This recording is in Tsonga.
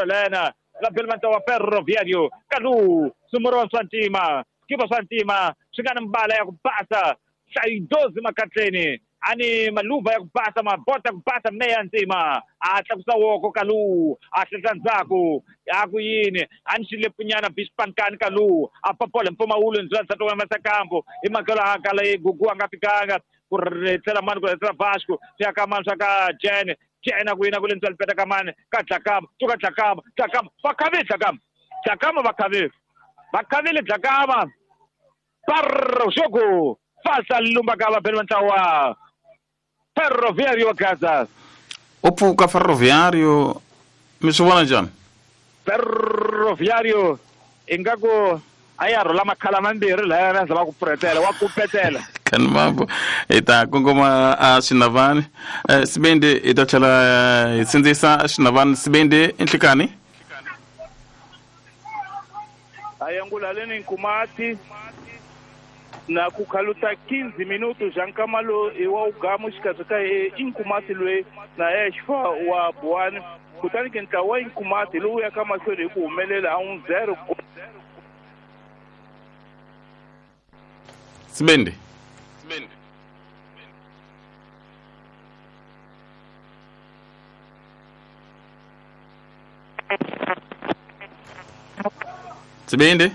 Lena la Belmont wa Ferroviario Kalu sumurwa swa ntima skipa swa ntima swi nga ni mbala ya ku basa hlayidozi makatleni ani maluva ya ku basa mabota ya ku basa me ya ntima a tlakusa woko Kalu a hlehla ndzhaku a ku yini a ni xilepunyana bispankani Kalu a papola mpfumawulo ndzula nsati wa masakambo hi makelo a kala yi gugu a nga fikanga ku tlhela mani ku tlhela Vasco swi ya ka mani swa ka Jene Jene ku yina ku le ntswali peta ka mani ka Dlakama tuka Dlakama Dlakama va khavile Dlakama Dlakama va khavile va khavile Dlakama par jogo falsa lumba ka vabeli va ntlawa Ferroviario Gaza U pfuka Ferroviario mi swi vona njhani? Ferroviario ingaku a ya rhula makhala mambirhi laya na za va ku pfuretela wa kupetela Kani mambo hi ta kongoma a Xinavani Sibindi hi ta tlhela hi sindzisa Xinavani Sibindi i nhlikani Ayangulaleni Nkumati na kukhaluta 15 minutos já nkamalo i wa ugamu xikarhi ka Inkumati loyi na Exfa wa Buwani kutani ke ntlawa wa Inkumati lowu yaka mahlweni hi ku humelela a 1-0. Sibindi Sibindi.